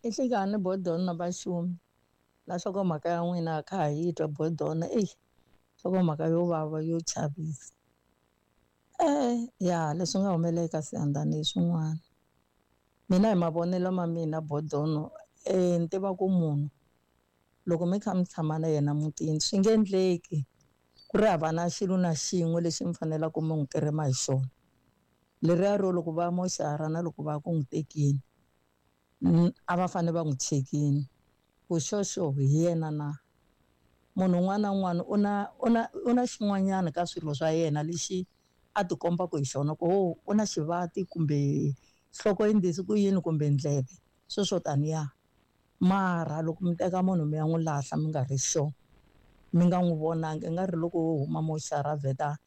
I nhlikani Bodon na Vaxumi na nhlokomhaka ya n'wina a kha ha yi twa Bodon eyi nhlokomhaka yo vava yo chavisa. Ya leswi nga humelela eka Siyandhani hi swin'wana. Mina hi mavonelo ma mina Bodon ni tiva ku munhu loko mi kha mi tshama na yena mutini swi nge endleki ku ri hava na xilo na xin'we lexi mi faneleke mi n'wi kirima hi xona. Leriya ro loko va moxara na loko va ku n'wi tekini a va fanele va n'wi chekini ku xoxo hi yena na. Munhu un'wana na un'wana u na u na u na xin'wanyana ka swilo swa yena lexi a tikombaka hi xona ku ho u na xivati kumbe nhloko yi ndlisi ku yini kumbe ndleve sweswo taniya. Mara loko mi teka munhu mi ya n'wi lahla mi nga ri sure mi nga n'wi vonangi i nga ri loko wo huma moxara a vheta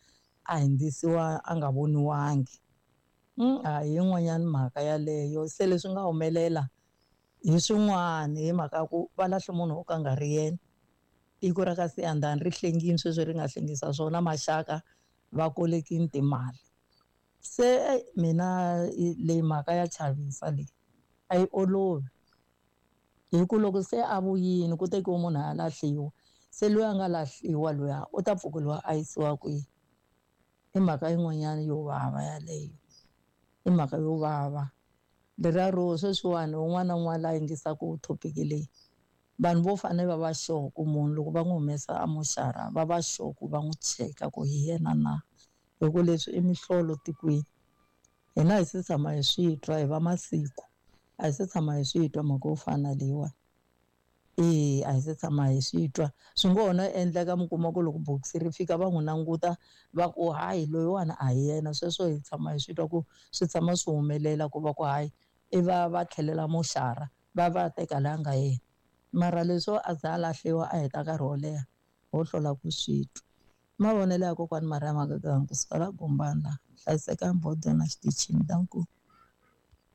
a hundzisiwa a nga voniwangi. A hi yin'wanyana mhaka yaleyo se leswi nga humelela hi swin'wana hi mhaka ya ku va lahle munhu wo ka nga ri yena. Tiko ra ka Siyandhani ri hlengile sweswi ri nga hlengisa swona maxaka va kolekile timali. Se mina leyi mhaka ya chavisa leyi a yi olovi hi ku loko se a vuyile ku tekiwe munhu a lahliwa se loyi a nga lahliwa luya u ta pfukeliwa a yisiwa kwihi. I mhaka yin'wanyana yo vava yaleyo i mhaka yo vava. Leriya ro sweswiwani un'wana na un'wana la yingisaka topic leyi vanhu vo fanele va va sure ku munhu loko va n'wi humesa a moxara va va sure ku va n'wi cheka ku hi yena na hi ku leswi i mihlolo tikweni. Hina hi se tshama hi swi twa hi va masiku a hi se tshama hi swi twa mhaka yo fana na leyiwani. A hi se tshama hi swi twa swi ngo ho no endleka mi kuma ku loko bokisi ri fika va n'wi languta va ku hayi loyiwani a hi yena sweswo hi tshama hi swi twa ku swi tshama swi humelela ku va ku hayi i va va tlhelela moxara va va teka laha nga yena. Mara leswo a za a lahliwa a heta nkarhi wo leha ho hlwela ku swi twa. Mavonelo ya kokwani Maria Magaga kusuka la Gombana hlayisekani Bodon na xitichini danko.